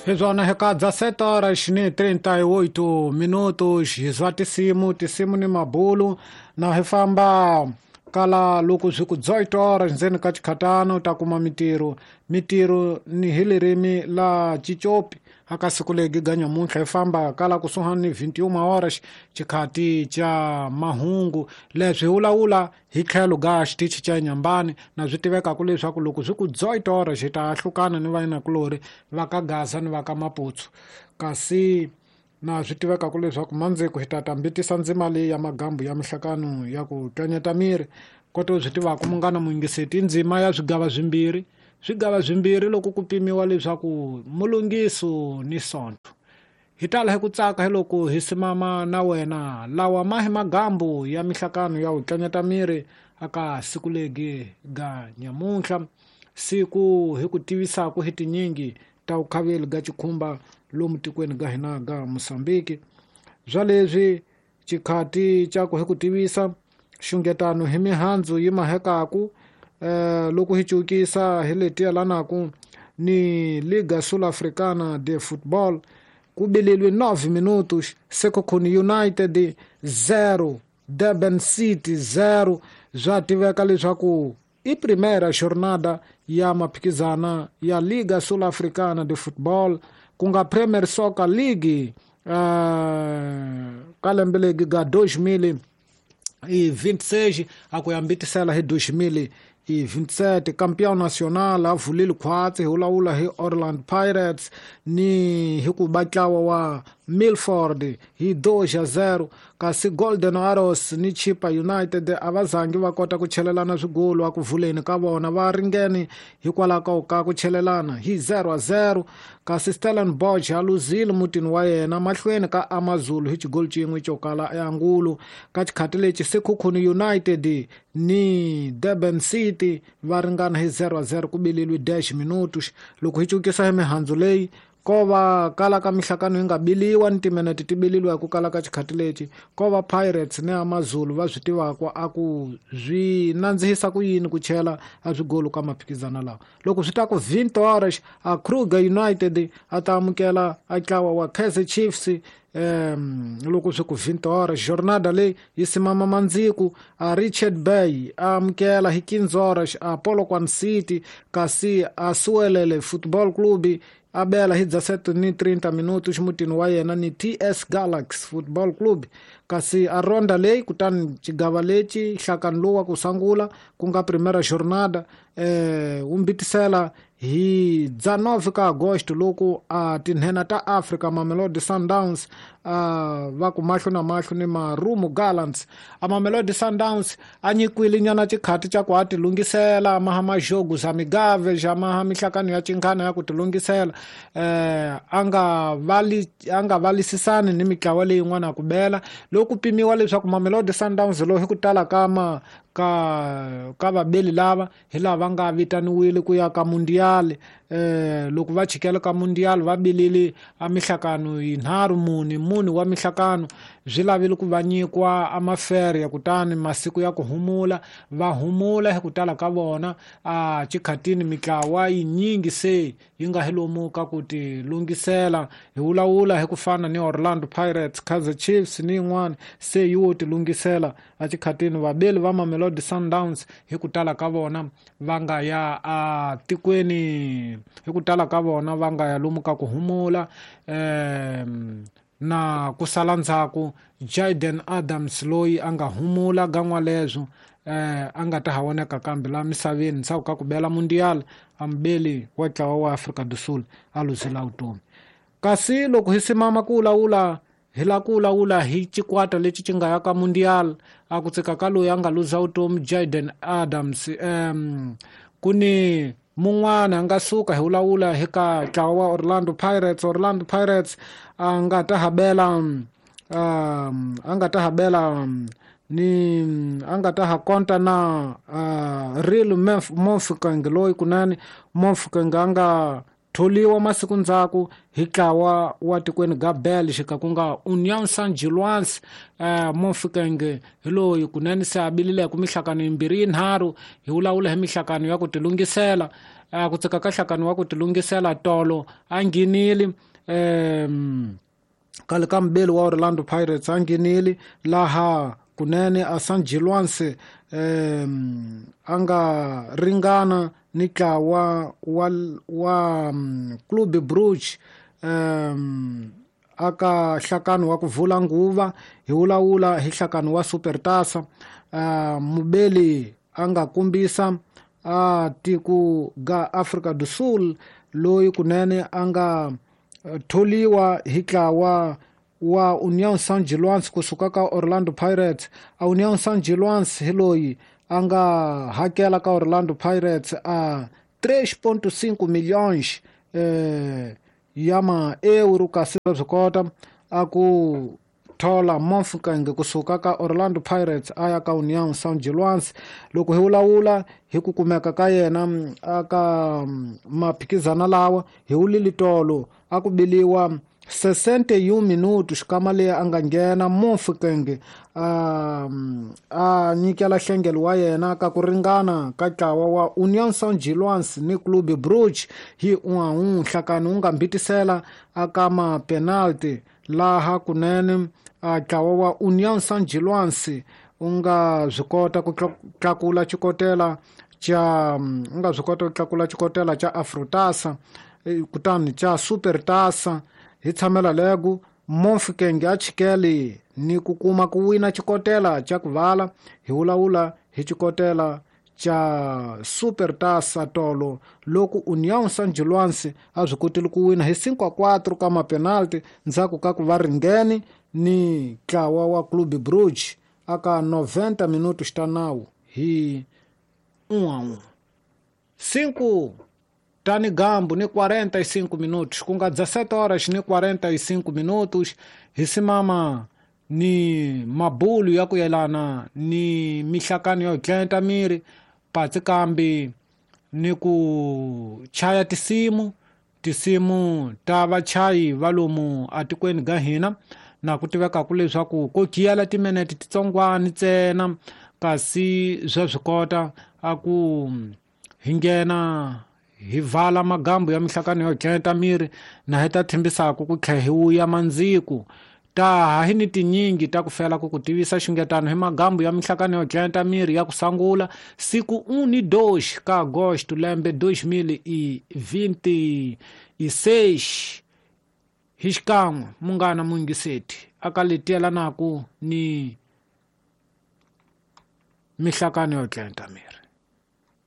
Hizvona hikadza 7 horas ni 38 minutos hizwa tisimu tisimu ni mabulu na hi famba kala loko swi ku 18 horas ndzeni ka chikhatano ta kuma mitirho mitirho ni hi lirimi la Chichopi aka siku legi ga nyamuntlha hi famba kala kusuhani ni 21 horas chikhati cha mahungu leswi hi vulavula hi tlhelo ga xitichi cha Nyambani na swi tivekaka leswaku loko swi ku 18 horas hi ta ahlukana ni vayinakulori va ka Gaza ni va ka Maputsu kasi na swi tivekaka leswaku mandziko hi ta tambitisa ndzima leyi ya magambu ya mihlakano ya ku tlanyeta miri kote u swi tivaka munghana muyingiseti ndzima ya swigava swimbirhi swigava swimbirhi loko ku pimiwa leswaku mulungiso ni sonto hi tala hi ku tsaka hi loko hi simama na wena lawa ma hi magambu ya mihlakano ya ku tlanyeta miri aka siku legi ga nyamuntlha siku hi ku tivisaka hi tinyingi ta vukhaveli ga chikhumba lomu tikweni ga hina ga Mosambiki bya leswi chikhati xa ku hi ku tivisa xungetano hi mihandzu yi mahekaku loko hi cukisa hi leti yelanaku ni Liga Sul-Africana de Football ku bililwe 9 minutos Sekhukhune United 0 Durban City 0 bya tiveka leswaku i primera jornada ya maphikizana ya Liga Sul-Africana de Football ku nga Premier Soccer League ka lembe legi ga 2026 a ku ya mbitisela hi 2027 campeão nacional a vulile khwatsi hi vulavula hi Orlando Pirates ni hi ku ba ntlawa wa Milford hi 2-0 kasi Golden Arrows ni Chippa United a va zangi va kota ku chelelana swigolo a ku vuleni ka vona va ringene hikwalaho ka ku chelelana hi 0-0 kasi Stellenbosch a luzile mutini wa yena mahlweni ka AmaZulu hi xigolo xin'we xo kala eAngulu ka xikhati lexi Sekhukhune United ni Durban City va ringana hi 0-0 ku bililwe 10 minutos loko hi cukisa hi mihandzu leyi ko va kala ka mihlakano yi nga biliwa ni timinete ti bililiwa hi ku kala ka xikhati lexi ko va Pirates ni AmaZulu va swi tivaka a ku swi nandzihisa ku yini ku chela a swigolo ka maphikizana lawa loko swi ta ku 20 horas a Kruger United a ta amukela a ntlawa wa Kaizer Chiefs loko swi ku 20 horas jornada leyi yi simama mandziku a Richard Bay a amukela hi 15 horas a Polokwane City kasi a Suelele Football Club a bela hi 17:30 minutos mutini wa yena ni TS Galaxy Football Club kasi a ronda leyi kutani xigava lexi nhlakano lowu wa ku sungula ku nga primera jornada wu mbitisela hi 19 ka Agosto loko a tinhena ta Africa Mamelodi Sundowns va ku mahlo na mahlo ni Marumo Gallants a Mamelodi Sundowns a nyikiwile nyana xikhati xa ku a ti lunghisela maha majogo za migave xa maha mihlakano ya chinghana ya ku ti lunghisela a nga valisisani ni mitlawa leyin'wana ku bela loko pimiwa leswaku Mamelodi Sundowns lowu hi ku tala ka ka vabeli lava hi lava nga vitaniwile ku ya ka mundial loko va chikela ka mundial va bilile a mihlakano yinharhu mune mune wa mihlakano swi lavile ku va nyikiwa a mafere kutani masiku ya ku humula va humula hi ku tala ka vona a xikhatini mitlawa yinyingi se yi nga hi lomu ka ku ti lunghisela hi vulavula hi ku fana ni Orlando Pirates Kaizer Chiefs ni yin'wana se yi wo ti lunghisela a xikhatini vabeli va Mamelodi Sundowns hi ku tala ka vona va nga ya a tikweni hi ku tala ka vona va nga ya lomu ka ku humula na ku sala ndzhaku Jayden Adams loyi a nga humula gan'wa leswo a nga ta ha voneka kambe la misaveni ndzhaku ka ku bela mundial a mubeli wa ntlawa wa Afrika do Sul a luzela vutomi kasi loko hi simama ku vulavula hi la ku vulavula hi xikwata lexi xi nga ya ka mundial a ku tsika ka loyi a nga luza vutomi Jayden Adams ku ni mun'wana a nga suka hi vulavula hi ka ntlawa wa Orlando Pirates Orlando Pirates a nga ta habela a nga ta habela ni a nga ta ha konta na Real Mofokeng loyi kunene Mofokeng a nga tholiwa masiku ndzhaku hi ntlawa wa tikweni ga Belgica ku nga Union Saint-Gilloise. Mofokeng hi loyi kunene se a bilileke mihlakano yimbirhi yinharhu, hi vulavula hi mihlakano ya ku tilunghisela. Ku tsika ka nhlakano wa ku tilunghisela tolo a nghenile khale ka mubeli wa Orlando Pirates, a nghenile laha kunene a Saint-Gilloise a nga ringana ni ntlawa wa Club Brugge aka nhlakano wa ku vula nguva. Hi vulavula hi nhlakano wa Supertasa. Mubeli a nga kombisa a tiko ga Afrika do Sul loyi kunene a nga tholiwa hi ntlawa wa Union Saint-Gilloise kusuka ka Orlando Pirates. A Union Saint-Gilloise hi loyi a nga hakela ka Orlando Pirates a 3.5 milhões ya ma-euro, kasi swi kota a ku thola Mofokeng kusuka ka Orlando Pirates a ya ka Union Saint-Gilloise. Loko hi vulavula hi ku kumeka ka yena aka maphikizana lawa, hi wulile tolo a ku biliwa 61 minutos xikama leyi a nga nghena Mofokeng a nyikela nhlengelo wa yena ka ku ringana ka ntlawa wa Union Saint-Gilloise ni Club Brugge hi 1-1. Nhlakano wu nga mbitisela aka ma-penalty laha kunene ntlawa wa Union Saint-Gilloise u nga swi kota ku tlakula xikotela xa u nga swi kota ku tlakula xikotela xa Afrotasa kutani xa Supertasa. Hi tshamela lego Mofokeng a chikele ni ku kuma ku wina xikotela xa ku vala. Hi vulavula hi xikotela xa Supertasa tolo loko Union Saint-Gilloise a swi kotile ku wina hi 5-4 ka mapenalty ndzhaku ka ku va ringene ni ntlawa wa Club Brugge aka 90 minutos ta nawu hi 1-1. 5 tani gambu ni 45 minutos, ku nga 17 horas ni 45 minutos. Hi simama ni mabulu ya ku yelana ni mihlakano yo tlenta miri patsi kambi ni ku chaya tisimu ta vachayi va lomu atikweni ga hina, na ku tivekaku leswaku ko giyela timinete titsongwana ntsena, kasi swa swi kota a ku hi nghena hi vala magambu ya mihlakano yo tlenta miri na hi ta thembisaku ku tlhe hi wuya mandziku. Ta hi ni tinyingi ta ku fela ku ku tivisa xungetano hi magambu ya mihlakano yo tlenta miri ya ku sangula siku 1 ka agosto lembe 2026. Hi xikan'we munghana muyingiseti aka letiyelanaku ni mihlakano yo tlenta miri.